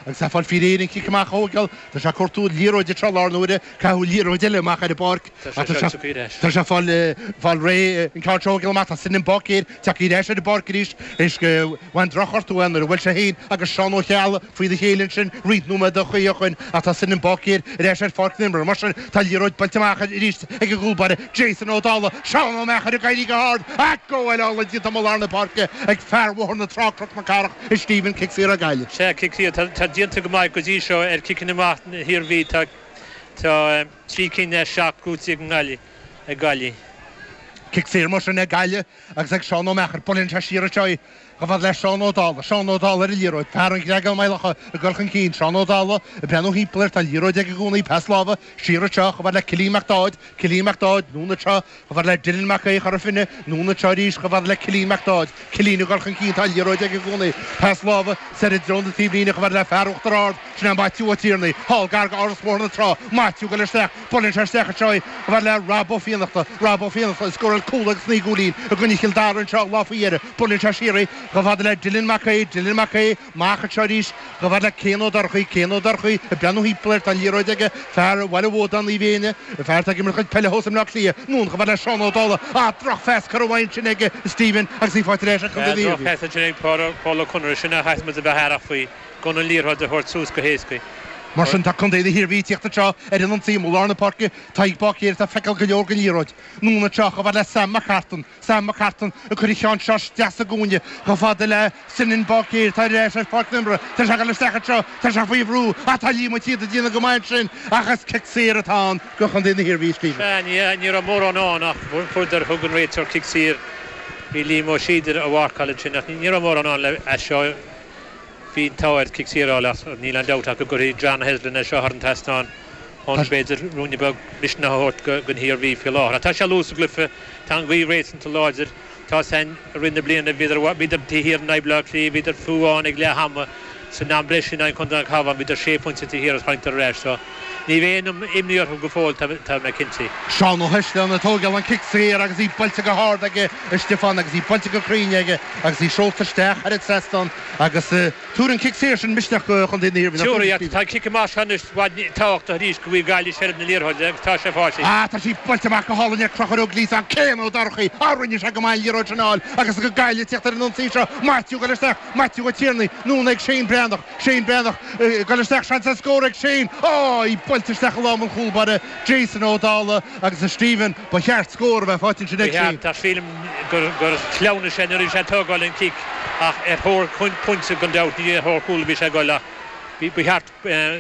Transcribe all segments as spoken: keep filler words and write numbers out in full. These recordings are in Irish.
Agus é ag fáil faoi réir an cic amach a thógáil. Tá sé ag cuartú liathróid anseo i lár na huaire, caitheadh liathróid eile amach ar an bpáirc. Tá sé seo tugtha ar ais. Tá sé ag fáil fáil réidh an ceann seo a thógáil amach. Tá Senan Báicéir tagtha ar ais ar an bpáirc arís théis go bhain drochghortú é nuair a bhuail sé féin agus Seán Ó Ceallaigh faoina chéile ansin roinnt nóiméad ó shin ach tá Senan Báicéir ar ais ar pháirc na himeartha. Mar sin tá an liathróid buailte amach arís ag an gcúl báire Jason Ó Dálaigh. Seán Ó Meachair ag éirí go hard ach gabháil álainn déanta amuigh i lár na páirce ag fear Bhóthar na Trá Cnoc na Cathrach a Stephen, cic saor ag Gaillimh. Sea, cic saor. Tá déanta go maith go dtí seo ar chiceanna amach na hIarmhí. Tá tá trí cinn as seacht buaite ag Gaillimh ag Gaillimh. Cic saor mar sin ag Gaillimh agus ag Seán Ó Meachair. Buaileann sé siar anseo í chomh fada le Seán Ó Dálaigh. Seán Ó Dálaigh ar an liathróid. Fear an Ghreagáin Maigh Locha ag dul chun cinn. Seán Ó Dálaigh ag breathnú thimpeall air. Tá an liathróid aige i gcónaí. Pas láimhe siar anseo chomh fada le Cillian Mac Dáid. Cillian Mac Dáid, anonn anseo chomh fada le Dylan Mac Aodha Chora Finne. Anonn anseo arís chomh fada le Cillian Mac Dáid. Cillian ag dul chun cinn. Tá an liathróid aige i gcónaí. Pas láimhe soir i dtreo na taobhlíne chomh fada le fear Uachtar Ard. Sin é Maitiú Ó Tiarnaigh. Thall gar go Áras Bhóthar na Trá. Maitiú ag dul isteach. Buaileann sé isteach anseo í chomh fada le Rob Ó Fiannachta. Rob Ó Fiannachta a scóráil cúl agus naoi gcúilín i gcoinne Chill Dara anseo lá faoi dheireadh. Buaileann sé siar í chomh fada le Dylan Mac Aodha. Dylan Mac Aodha amach anseo arís chomh fada le Cian Ó Dorchaí. Cian Ó Dorchaí ag breathnú thimpeall air. Tá an liathróid aige. Fear Bhaile Bhuadáin Naomh Éanna. Fear atá ag imirt a chuid peile thuas i mBleá Cliath. Anonn chomh fada le Seán Ó Dálaigh. Ah, drochphas curtha uaidh ansin aige Stephen agus í faighte ar ais ag Contae na hIarmhí. Drochphas ansin ag Paul Ó Conaire. Sin a chaithfidh muid a bheith aireach faoi gan an liathróid a thabhairt suas go héasca. Mar sin tá Contae na hIarmhí ag tíocht anseo ar an ionsaí i lár na páirce. Tadhg Báicéir atá ag feiceáil go leor den liathróid. Anonn anseo chomh fada le Sam McCartan. Sam McCartan ag cur an cheann seo isteach sa gcúinne chomh fada le Senan Báicéir atá ar ais ar pháirc na himeartha. Tá sé ag dul isteach anseo. Tá sé faoi bhrú. Ach tá Liam Ó Síoda ag déanamh go maith ansin ach is cic saor atá ann go Chontae na hIarmhí, Stephen. Sea, ní raibh mórán ann ach fuaireadar thug an réiteoir cic saor. Bhí Liam Ó Síoda a mharcáil ansin ach ní raibh mórán ann le as seo. Bhí an t-ádh air cic saor a fháil ach níl aon dabht ach go gcuirfidh John Heslin é seo thar an trasnán chun b'fhéidir ruainne beag misneach a thabhairt don hIarmhí faoi láthair. Ach tá sé luath sa gcluiche, tá an ghaoth réasúnta láidir, tá san i rith na bliana, bhíodar bhíodar taobh thiar in aghaidh Bhaile Átha Cliath, bhíodar fiú amháin ag leath ama san am breise in aghaidh Chontae an Chabháin, bhíodar sé phointe taobh thiar agus tháinigdar ar ais. So ní bheidh aon imní orthu go fóill, tá tá mé cinnte. Seán Ó hEisleáin ag tógáil an cic saor agus í buailte go hard aige a Stiofán agus í buailte go cruinn aige agus í seolta isteach thar an trasnán agus tabharfaidh an cic saor sin misneach go Chontae na hIarmhí. Tabharfaidh, tá an cic amach seo anois i bhfad tábhachtach arís go bhfuil Gaillimh seilbh na liathróide agus tá sé faighte. Ah, tá sí buailte amach go hálainn ag Conchúr Ó Gliasáin, Cian Ó Dorchaí, ah, rinne sé go maith an liathróid sin a fháil agus go Gaillimh ag tíocht ar an ionsaí seo, Maitiú ag dul isteach, Maitiú Ó Tiarnaigh, anonn ag Shane Breathnach, Shane Breathnach ag dul isteach, seans ar scór ag Shane, á, í buailte isteach i lámh an chúlbáire, Jason Ó Dálaigh agus a Stephen, ba cheart scór a bheith faighte ansin ag Shane. Ba cheart, ach sílim gur gur shleamhnaigh sé nuair a bhí sé ag tógáil an cic ach ar thóir pointe gan dabht, ní ar thóir cúl a bhí sé ag dul ach ba cheart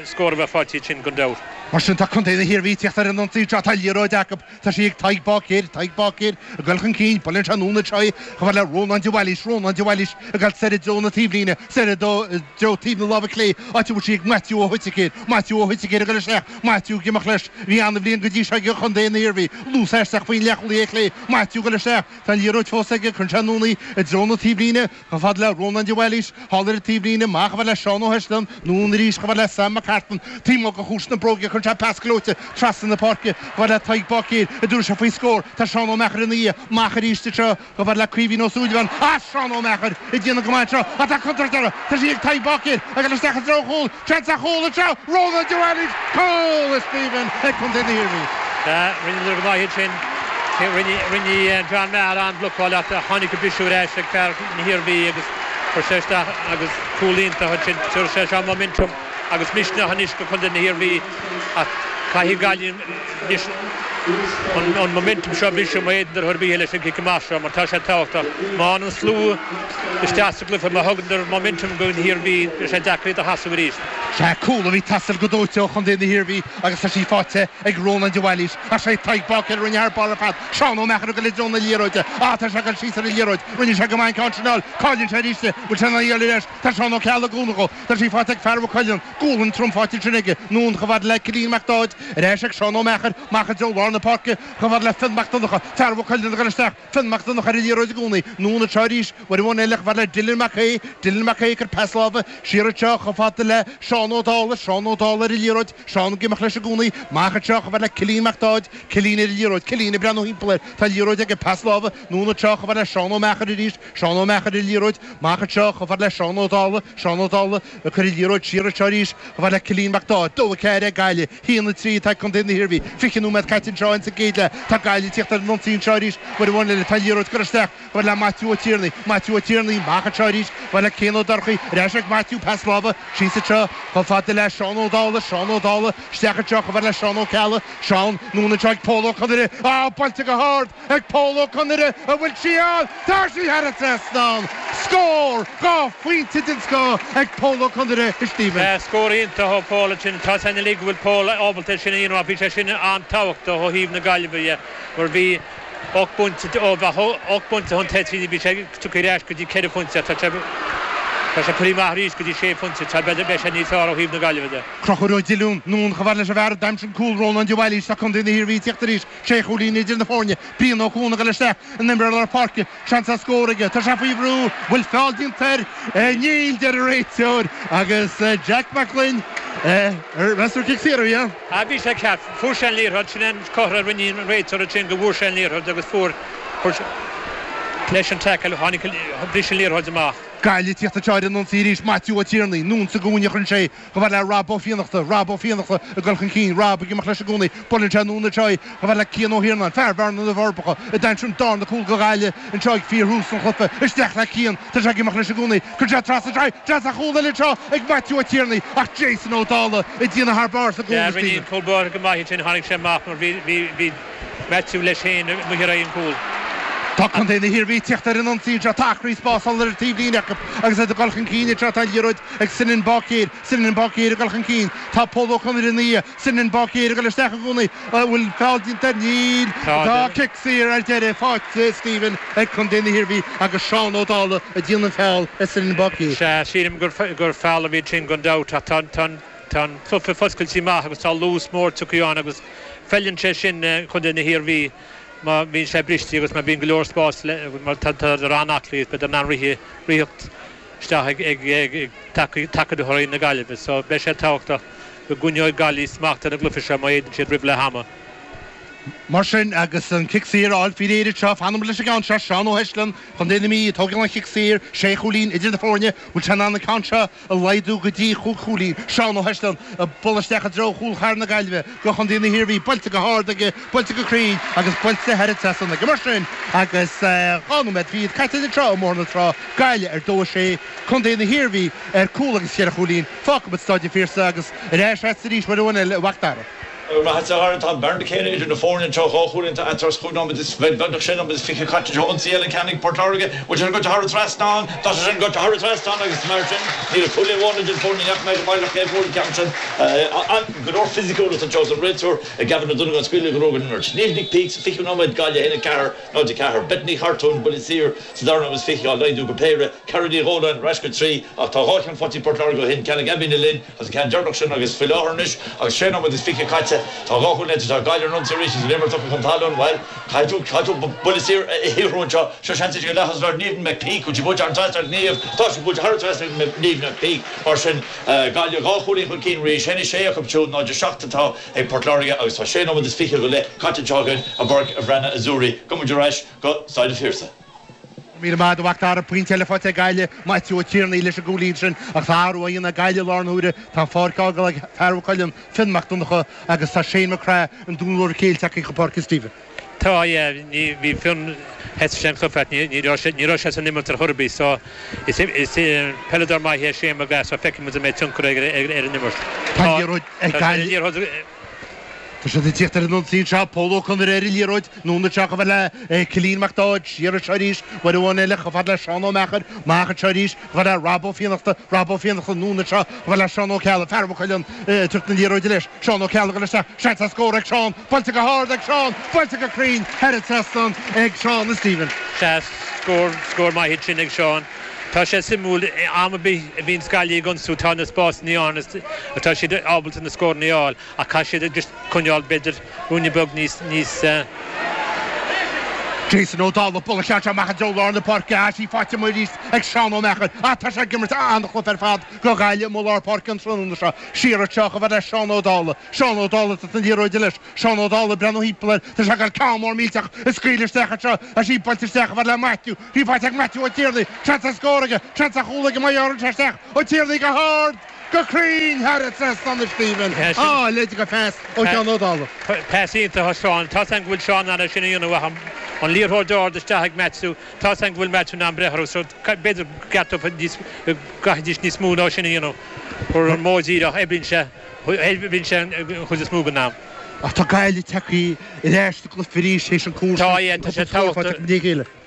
scór a bheith faighte ansin gan dabht. Mar sin tá Contae na hIarmhí ag tíocht ar an ionsaí seo, tá liathróid acu, tá sí ag Tadhg Báicéir, Tadhg Báicéir ag dul chun cinn, buaileann sé anonn anseo í chomh fada le Rónán de Bhailís, Rónán de Bhailís ag dul soir i dtreo na taobhlíne, soir i dtreo taobh na láimhe clé, áit a bhfuil sí ag Maitiú Ó hUiticéir, Maitiú Ó hUiticéir ag dul isteach, Maitiú ag imeacht leis, bhí an-bhliain go dtí seo ag Contae na hIarmhí, luas aisteach faoin leathchúlaí ar chlé, Maitiú ag dul isteach, tá an liathróid fós aige, cuireann sé anonn í i dtreo na taobhlíne, chomh fada le Rónán de Bhailís, thall ar an taobhlíne, amach chomh fada le Seán Ó hEisleáin, anonn arís chomh fada le Sam McCartan, taobh amuigh de chuas na bróige, cuireann sé pas gleoite trasna na páirce, chomh fada le Tadhg Báicéir, an dtabharfaidh sé faoi scór, tá Seán Ó Meachair ina dhiaidh, amach arís anseo, chomh fada le Caoimhín Ó Súilleabháin, ah Seán Ó Meachair ag déanamh go maith anseo, ach tá contúirt orthu, tá sí ag Tadhg Báicéir, ag dul isteach i dtreo an chúil, seans ar chúl anseo, Rónán de Bhailís, cúl a Stephen ag Contae na hIarmhí. Sea, rinneadar go maith ansin. Rinne, rinne John Maher an-bhlocáil ach tháinig an briseadh ar ais ag fear na hIarmhí agus chuir sé isteach agus cúl iontach ansin. Tabharfaidh sé seo momentum agus misneach anois go Contae na hIarmhí ach caithfidh Gaillimh anois an, an momentum seo a bhriseadh má fhéadann ar bith leis an gcic amach seo mar tá sé tábhachtach. Má an slua isteach sa gcluiche má thugann momentum go hIarmhí beidh sé deacair iad a sheasamh arís. Sea, cúl a bhí ag teastáil go dóite ó Chontae na hIarmhí agus tá sí faighte ag Rónán de Bhailís. Ach sé Tadhg Báicéir a rinne thar barr ar fad. Seán Ó Meachair ag dul i dtreo na liathróide. Ah, tá sé ag dul síos ar an liathróid. Rinne sé go maith an ceann sin a fháil. Cailleann sé arís í. Bhfuil sé in ann í a fháil ar ais? Tá Seán Ó Ceallaigh ag cúnamh dhó. Tá sí faighte ag fear Mhaigh Cuilinn. Gualainn trom faighte ansin aige. Anonn chomh fada le Cillian Mac Dáid. Ar ais ag Seán Ó Meachair. Amach i dtreo lár lár na páirce chomh fada le Fionn Mac Donncha fear Mhaigh Cuilinn ag dul isteach Fionn Mac Donncha ar an liathróid i gcónaí anonn anseo arís uair amháin eile chomh fada le Dylan Mac Aodha Dylan Mac Aodha ag cur pas láimhe siar anseo chomh fada le Seán Ó Dálaigh Seán Ó Dálaigh ar an liathróid Seán ag imeacht leis i gcónaí amach anseo chomh fada le Cillian Mac Dáid Cillian ar an liathróid Cillian ag breathnú thimpeall air tá an liathróid aige pas láimhe anonn anseo chomh fada le Seán Ó Meachair arís Seán Ó Meachair ar an liathróid amach anseo chomh fada le Seán Ó Dálaigh Seán Ó Dálaigh ag cur an liathróid siar anseo arís chomh fada le Cillian Mac Dáid dó a ceathair ag Gaillimh haon a trí atá ag Contae na hIarmhí fiche nóiméad caite anseo insa gcéad leath tá Gaillimh ag tíocht ar an ionsaí anseo arís uair amháin eile tá an liathróid curtha isteach chomh fada le Maitiú Ó Tiarnaigh Maitiú Ó Tiarnaigh amach anseo arís chomh fada le Cian Ó Dorchaí ar ais ag Maitiú pas láimhe síos anseo chomh fada le Seán Ó Dálaigh Seán Ó Dálaigh isteach anseo chomh fada le Seán Ó Ceallaigh Seán anonn anseo ag Pól Ó Conaire á buailte go hard ag Pól Ó Conaire an bhfuil sí ann tá sí thar an trasnán scór dhá phointe den scoth ag Pól Ó Conaire a Stephen. Scór iontach ó Paul sin tá san go bhfuil Paul ábalta sin a dhéanamh bhí sé sin an-tábhachtach ó thaobh na Gaillimhe mar bhí ocht bpointe ocht bpointe chun tosaigh bhí sé tugtha ar ais go dtí ceithre phointe tá sé Tá sé príomh arís go dtí sé phointe tá beidh sé níos fearr ó thaobh na Gaillimhe de. Conchúr Ó Diolún anonn chomh fada leis an bhfear a d'aimsigh an cúl Rónán de Bhailís tá Contae na hIarmhí ag tíocht arís sé chúilín idir na foirne Brian Ó Cuana ag dul isteach an imreoir lár páirce seans ar scór aige tá sé faoi bhrú bhfuil feall déanta air níl deir an réiteoir agus Jack Mac Gloinn meas tú cic saor a bhí ann. A bhí sé ceart fuair sé an liathróid sin an cothra a rinne an réiteoir sin go bhfuair sé an liathróid agus fuair leis an tackle tháinig bris an liathróid amach. Gaillimh ag tíocht anseo ar an ionsaí arís Maitiú Ó Tiarnaigh anonn sa gcúinne a chuireann sé chomh fada le Rob Ó Fiannachta Rob Ó Fiannachta ag dul chun cinn Rob ag imeacht leis i gcónaí buaileann sé anonn anseo chomh fada le Cian Ó hIarnáin fear Bhearna na bhForbacha a d'aimsigh an darna cúl do Ghaillimh anseo ag fíorthús an chluiche isteach le Cian tá sé ag imeacht leis i gcónaí cuireann sé trasna anseo seans ar chúl eile anseo ag Maitiú Ó Tiarnaigh ach Jason Ó Dálaigh ag déanamh thar barr sa gcúl Stephen. Cúl báire go maith sin tháinig sé amach mar bhí bhí Maitiú leis féin amuigh ar aghaidh an cúl. Tá Contae na hIarmhí ag tíocht ar an ionsaí anseo tá acraí spásála ar an taobhlíne acu agus iad ag dul chun cinn anseo tá an liathróid ag Sinan Báicéir Sinan Báicéir ag dul chun cinn tá Pól Ó Conaire ina dhiaidh Sinan Báicéir ag dul isteach i gcónaí an bhfuil feall déanta air níl tá cic saor ar deireadh faighte Stephen ag Contae na hIarmhí agus Seán Ó Dálaigh ag déanamh an feall ar Sinan Báicéir. Sea sílim gur gur feall a bhí sin gan dabht ach tá tá tá an cluiche foscailte maith agus tá luas mór tugtha ann agus feileann sé sin Contae na hIarmhí má bhíonn sé briste agus má bhíonn go leor spás mar tá an-aclaí b'fhéidir an rith ritheacht isteach ag ag ag tacadóirí na Gaillimhe so beidh sé tábhachtach go gcoinneoidh Gaillimh smacht ar an gcluiche seo má fhéadann siad roimh leath ama. Mar sin agus an cic saor á fháil faoi réir anseo fanfaidh muid leis an gceann seo Seán Ó hEisleann Contae na Mí ag tógáil an chic saor sé chúilín idir na foirne bhfuil sé in ann an ceann seo a laghdú go dtí chúig chúilín Seán Ó hEisleann ag bualadh isteach i dtreo chúl chathair na Gaillimhe go Chontae na hIarmhí buailte go hard aige buailte go cruinn agus buailte thar an trasnán aige mar sin agus dhá nóiméad fichead caite anseo i mBóthar na Trá Gaillimh ar dó a sé Contae na hIarmhí ar cúl agus ceithre chúilín fágfaidh muid Staid an Phiarsaigh agus ar ais agat arís uair amháin eile a Mhac Dara. Maith tá an bearna céanna idir na foirne anseo dhá chúilín eatarthu chúig nóiméad is beagnach sé nóiméad is fiche caite anseo ionsaí eile ceann ag Port Láirge bhfuil sé go thar an trasnán tá sé sin go thar an trasnán agus mar sin níl cúl amháin idir foirne neach mé go baileach cé bhfuil ceann sin an go leor fisiciúlacht anseo an réiteoir ag Gavin O'Donovan scaoileadh go an imirt. Niamh Nic Peaks fiche nóiméad Gaillimh haon a ceathair náid a ceathair. Bethany Chartún buille saor sa dara nóiméad is fiche á laghdú go péire Cara Ní Dhóláin ar ais go trí ach tá dhá cheann faighte ag Port Láirge ó shin ceann ag Abby Lynn agus ceann deireanach sin agus faoi láthair anois agus sé nóiméad is fiche caite tá dhá chúl tá Gaillimh an arís is imirt chun talún well caithfidh tú buille saor a shaothrú anseo seo seans go leathas leir Niamh McPeak chu bu an trasna Niamh tá sé buailte thar an trasna Niamh McPeak mar sin Gaillimh dhá chúilín chun cinn arís haon a sé acu siúd náid a seacht atá ag Port Láirge agus tá sé nóiméad is fiche go leith caite anseo againn i bPáirc Bhreathnach Azzurri go muid ar ais go Staid an Phiarsaigh. Míle maith a Mhac Dara pointe eile faighte ag Gaillimh Maitiú Ó Tiarnaigh leis an gcúilín sin ach tá athrú á dhéanamh ag Gaillimh lár na huaire tá an pháirc á fhágáil ag fear Mhaigh Cuilinn Fionn Mac Donncha agus tá Shane McCrae an dúnmhór céilte acu go Páirc Stephen. Tá ní bhí Fionn het sem chufet ní ní raibh sé san imirt ar chor ar bith so is is peileadóir maith é Shane McGrath so feicfidh muid an mbeidh tionchar ar ar an imirt. Tá liathróid ag Gaillimh Tá siad ag tíocht ar an ionsaí anseo Pól Ó Conaire ar an liathróid anonn anseo chomh fada le Cillian Mac Dáid siar anseo arís uair amháin eile chomh fada le Seán Ó Meachair amach anseo arís chomh fada le Rob Ó Fiannachta Rob Ó Fiannachta anonn anseo chomh fada le Seán Ó Ceallaigh fear Mhaigh Cuilinn ag tabhairt na liathróide leis Seán Ó Ceallaigh ag dul isteach seans ar scór ag Seán buailte go hard ag Seán buailte go cruinn thar an trasnán ag Seán Stephen. Sea scór scór maith sin ag Seán. Tá sé suimiúil am a bhíonn Gaillimh ag ionsú tá na spásanna ann atá siad ábalta na scóranna a fháil ach caithfidh siad just coinneáil b'fhéidir ruainne beag níos níos Jason Ó Dálaigh buille ceart amach i dtreo lár na páirce tá sí faighte amuigh arís ag Seán Ó Meachair. Á tá sé ag imirt an-chluiche ar fad do Ghaillimh amuigh lár páirce an tráthnóna seo. Siar anseo chomh fada le Seán Ó Dálaigh. Seán Ó Dálaigh tá an liathróid leis. Seán Ó Dálaigh breathnú thimpeall air. Tá sé ag ceann mór millteach a scaoileadh isteach anseo. Tá sí buailte isteach chomh fada le Matthew. Í faighte ag Matthew Ó Tiarnaigh. Seans ar scór aige. Seans ar chúl aige má ghearrann sé isteach. Ó Tiarnaigh go hard! Go cruinn thar an trasnán a Stephen. Á, leid go phas ó Sheán Ó Dálaigh. Pas iontach ó Seán. Tá 's agam go bhfuil Seán in ann é sin a dhéanamh ach an liathróid ard isteach ag Matthew. Tá 's agam go bhfuil Matthew in ann breith orthu so b'fhéidir go gceartófa níos go gcaithfidís níos mó ná sin a dhéanamh. Ar an modh díreach oibríonn sé oibríonn sé an chuid is mó den am. Ach tá Gaillimh tagtha ar ais sa gcluiche arís théis an cúl Tá, yeah, tá sé tábhachtach.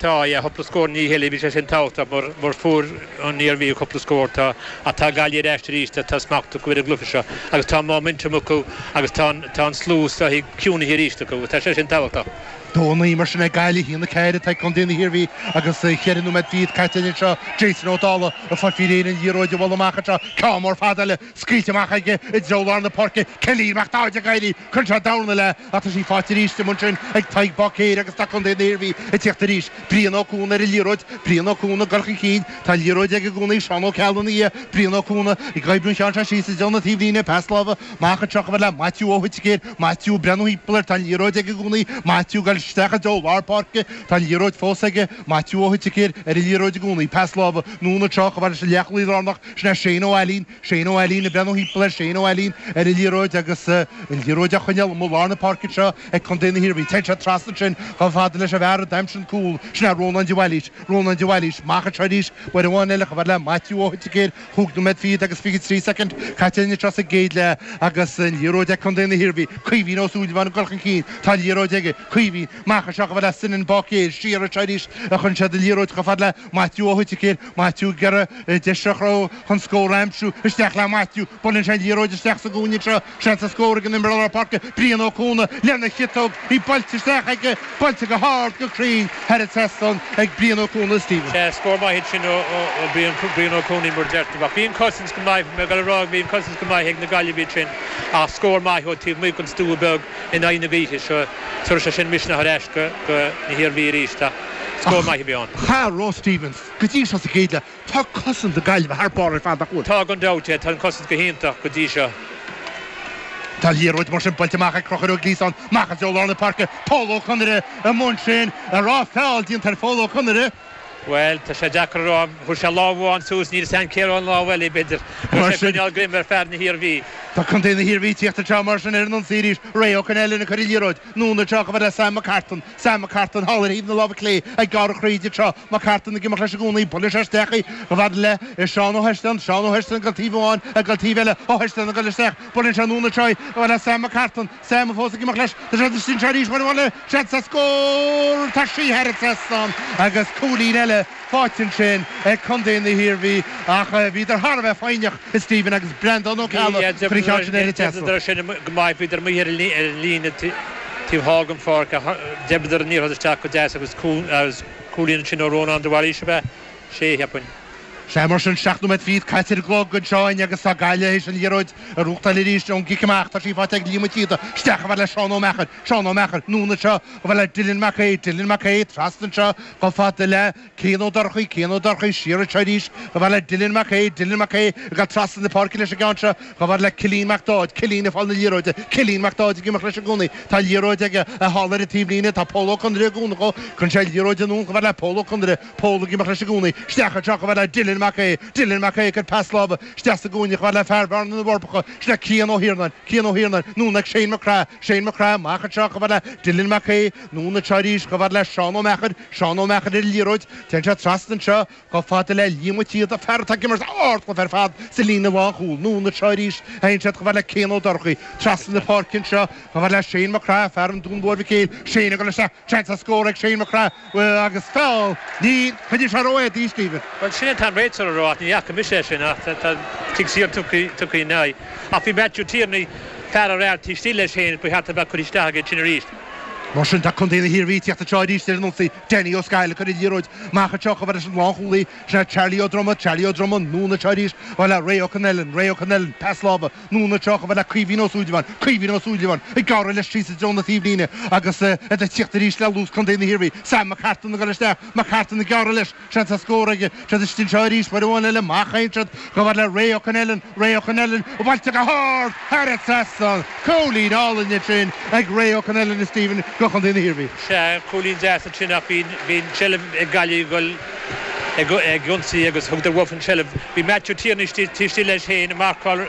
Tá, yeah, cúpla scór ní chéile, bhí sé sin tábhachtach mar mar fuair an Iarmhí cúpla scór tá ach tá Gaillimh ar ais arís tá smacht acu ar an gcluiche seo agus tá momentum acu agus tá tá an slua istigh ciúnaithe arís acu, tá sé sin tábhachtach. Dó a naoi mar sin ag Gaillimh, a haon a ceathair atá ag Contae na hIarmhí agus ceithre nóiméad fichead caite anseo. Jason Ó Dálaigh ag fáil faoi réir an liathróid a bhualadh amach anseo. Ceann mór fada eile scaoilte amach aige i dtreo lár na páirce. Cillian Mac Dáid ag éirí cuireann sé dorn eile ach tá sí faighte arís amuigh ansin ag Tadhg Báicéir agus tá Contae na hIarmhí ag tíocht arís. Brian Ó Cuana ar an liathróid. Brian Ó Cuana ag dul chun cinn. Tá an liathróid aige i gcónaí. Seán Ó Ceallaigh ina dhiaidh. Brian Ó Cuana ag oibriú an cheann seo síos i dtreo na taobhlíne. Pas láimhe amach anseo chomh fada le Maitiú Ó hOitigéir. Maitiú ag breathnú thimpeall air. Tá an liathróid aige i gcónaí. Maitiú ag dul isteach i dtreo lár páirce. Tá an liathróid fós aige. Maitiú Ó hOitigéir ar an liathróid i gcónaí. Pas láimhe anonn anseo chomh fada leis an leathchúlaí lárnach. Sin é Shane Ó Ailín. Shane Ó Ailín ag breathnú thimpeall air. Shane Ó Ailín ar an liathróid agus an liathróid á choinneáil amuigh lár na páirce anseo ag Contae na hIarmhí. Téann sé trasna ansin chomh fada leis an bhfear a d'aimsigh an cúl. Sin é Rónán de Bhailís. Rónán de Bhailís. Amach anseo arís uair amháin eile chomh fada le Maitiú Ó hOitigéir. Cúig nóiméad fichead agus fiche trí soicind caite anseo sa gcéad leath agus an liathróid ag Contae na hIarmhí. Caoimhín Ó Súilleabháin ag dul chun cinn. Tá an liathróid aige. Caoimhín. Amach anseo chomh fada le Senan Báicéir. Siar anseo arís a chuireann siad an liathróid chomh fada le Maitiú Ó hOitigéir. Maitiú ag iarraidh deis a chruthú chun scór a aimsiú. Isteach le Maitiú. Buaileann sé an liathróid isteach sa gcúinne anseo. Seans ar scór ag an imreoir lár páirce, Brian Ó Cuana, lena chiotóg. Í buailte isteach aige, buailte go hard, go cruinn thar an trasnán ag Brian Ó Cuana, Stephen. Sea, scór maith ansin ó Brian Brian Ó Cuana mar deir tú. Ach bhí an cosaint go maith, mé ag dul a rá, bhí an cosaint go maith ag na Gaillimhigh ansin ach scór maith ó taobh amuigh den stua beag in aghaidh na gaoithe seo. Tabharfaidh sé sin misneach ar ais go go na hIarmhí arís ach scór maith a bhí ann. Cha raibh Stevens go dtí seo sa gcéad leath. Tá cosaint na Gaillimhe thar barr ar fad, nach bhfuil? Tá gan dabht, tá an cosaint go hiontach go dtí seo. Tá liathróid mar sin buailte amach ag Conchúr Ó Gliasáin, amach i dtreo lár na páirce, Pól Ó Conaire amuigh ansin, an raibh feall déanta ar Phól Ó Conaire. Bhuel, tá sé deacair a rá. Chuir sé lámh amháin suas, níl a fhios agam cé raibh an lámh eile, b'fhéidir. Chuir sé ag coinneáil greim ar fear na hIarmhí. Tá contae na hIarmhí ag tíocht anseo mar sin ar an ionsaí arís. Ray Ó Conghaile ag cur an liathróid anonn anseo chomh fada le Sam McCartan. Sam McCartan thall ar thaobh na láimhe clé ag gearradh thríd anseo. McCartan ag imeacht leis i gcónaí. Buaileann sé isteach í chomh fada le Seán Ó hEistean. Seán Ó hEistean ag dul taobh amháin, ag dul taobh eile. Ó hEistean ag dul isteach. Buaileann sé anonn anseo í chomh fada le Sam McCartan. Sam fós ag imeacht leis. Tá sé istigh anseo arís. Uair amháin eile. Seans ar scór! Tá sí thar an trasnán agus cúilín eile faighte ansin ag contae na hIarmhí ach bhíodar thar a bheith foighneach, a Stephen agus Breandán Ó Ceallaigh ag cur an cheann sin ar an trasnán. D'oibríodar sin go maith, bhíodar amuigh ar an líne taobh thall den pháirc ach d'oibríodar an liathróid isteach go deas agus cúilín ansin ó Rónán de Bhailís ab ea? Sé, cheapfainn. Sea, mar sin, seacht nóiméad fichead caite ar an gclog anseo againn agus tá Gaillimh théis an liathróid a ghnóthachtáil arís ón gcic amach. Tá sí faighte ag Liam Ó Ciada. Isteach chomh fada le Seán Ó Meachair. Seán Ó Meachair, anonn anseo chomh fada le Dylan Mac Aodha. Dylan Mac Aodha, trasna anseo chomh fada le Cian Ó Dorchaí. Cian Ó Dorchaí, siar anseo arís chomh fada le Dylan Mac Aodha. Dylan Mac Aodha ag dul trasna na páirce leis an gceann seo chomh fada le Cillian Mac Dáid. Cillian ag fáil na liathróide. Cillian Mac Dáid ag imeacht leis i gcónaí. Tá an liathróid aige thall ar an taobhlíne. Tá Pól Ó Conaire ag cúnamh dhó. Cuireann sé an liathróid anonn chomh fada le Pól Ó Conaire. Pól ag imeacht leis i gcónaí. Isteach anseo chomh fada le Dylan Mac Aodha. Dylan Mac Aodha ag cur pas láimhe isteach sa gcúinne chomh fada le fear Bhearna na bhForbacha. Sin é Cian Ó hIarnáin. Cian Ó hIarnáin. Anonn ag Shane McGrath. Shane McGrath amach anseo chomh fada le Dylan Mac Aodha. Anonn anseo arís chomh fada le Seán Ó Meachair. Seán Ó Meachair ar an liathróid. Téann sé trasna anseo chomh fada le Liam Ó Ciada, fear atá ag imirt ardchluiche ar fad sa líne lánchúil. Anonn anseo arís a théann siad chomh fada le Cian Ó Dorchaí. Trasna na páirce anseo chomh fada le Shane McGrath, fear an Dúin Mhóir Mhic Éil. Shane ag dul isteach. Seans ar scór ag Shane McGrath agus feall. Níl. Choinnigh sé ró-éadaí, Stephen. Bhuel, sin é atá an réiteoir a rá ach ní fhaca mise é sin ach tá cic saor tugtha ina aghaidh. Ach bhí Matthew Tierney fear ar fhear taobh istigh leis féin ba cheart a bheith curtha isteach aige sin arís. Mar sin tá Contae na hIarmhí ag teacht anseo arís ar an ionsaí Danny Ó Scaill ag cur an liathróid amach anseo chomh fada leis an lánchúlaí sin é Charlie Ó Droma Charlie Ó Droma anonn anseo arís chomh fada le Ray Ó Connellan Ray Ó Connellan pas láimhe anonn anseo chomh fada le Caoimhín Ó Súilleabháin Caoimhín Ó Súilleabháin ag gearradh leis síos i dtreo na taobhlíne agus iad ag tíocht arís le luas Contae na hIarmhí Sam McCartan ag dul isteach McCartan ag gearradh leis seans ar scór aige siad istigh anseo arís uair amháin eile amach a siad chomh fada le Ray Ó Connellan Ray Ó Connellan buailte go hard thar an trasnán cúilín álainn sin ag Ray Ó Connellan a Stephen go Chontae na hIarmhí. Sea cúilín deas sin ach bhí seilbh ag Gaillimh ag ag ionsaí agus thug uathu an tseilbh. Bhí Matthew Tierney tí leis féin marcáil